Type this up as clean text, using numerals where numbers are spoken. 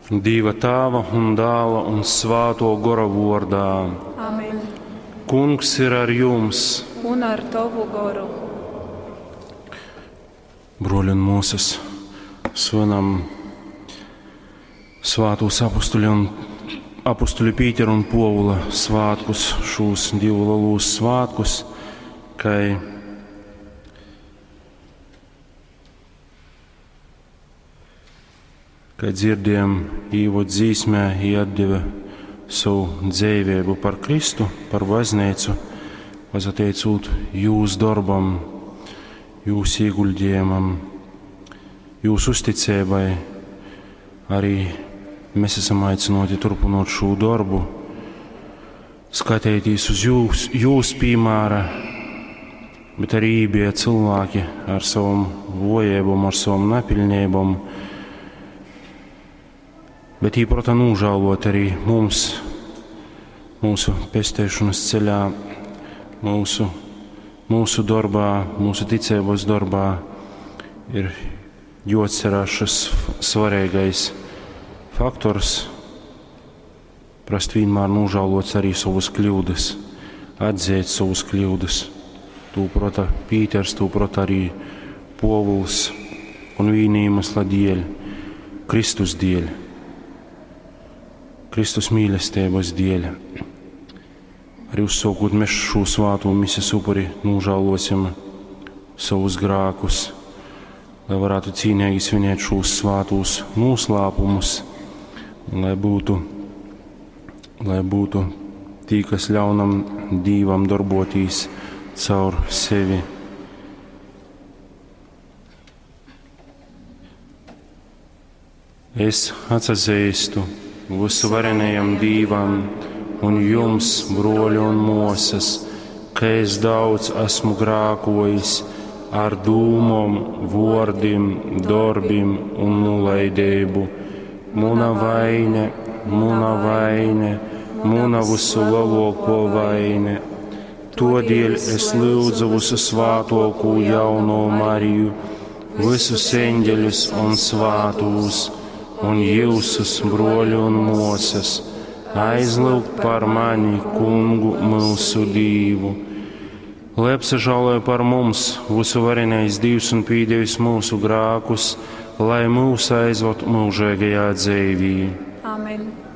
Dīva Tāva un Dāla un Svāto Gora vordā. Amen. Kungs ir ar jums. Un ar tovu goru. Broļi un mūsas, svinam svātūs apustuļu un apustuļu Pītera un Povula svātkus, šūs divu lielūs svātkus, kai kai dzirdējam īvod dzīsmē, jī atdeva savu dzīvību par Kristu, par baznīcu, pasateicūt jūs darbam, jūs ieguldījumam, jūsu uzticībai. Arī mēs esam aicināti turpinot šo darbu, skatīties uz jūs, jūs piemēra, bet arī bija cilvēki ar savam vojībām, ar savam nepilnībām, bet īprota nožēlot arī mums, mūsu pestēšanas ceļā, mūsu, mūsu darbā, mūsu ticības darbā ir jāatcerās šis svarīgais faktors, prast vienmēr nožēlot arī savas kļūdas, atzīt savas kļūdas. Tū prota Pīters, tū prota arī Povuls un viņa iemesla dēļ, Kristus dēļ. Kristus mīlestības dēļ. Arī uzsākot mēs šo svāto misijas upuri, nožēlosim savus grēkus, lai varētu cīnīgi svinēt šos svātos noslēpumus, un lai būtu, lai būtu tī, kas ļaunam Dīvam darbotīs caur sevi. Es atsazīstu visuvarenajam Dīvam un jums, broļi un mosas, ka es daudz esmu grākojis ar dūmom, vordim, darbim un nulaidību. Muna vaine, muna vaine, muna visu lielāko vaine. Todēļ es lūdzu visu svātoko jauno Mariju, visus eņģeļus un svātūs, un jūsus broļu un mosas, aizlūgt par mani, kungu mūsu Dīvu. Lai apsažāloja par mums, visuvarenais Dievs un pīdevis mūsu grākus, lai mūs aizved mūžīgajā dzīvī. Amen.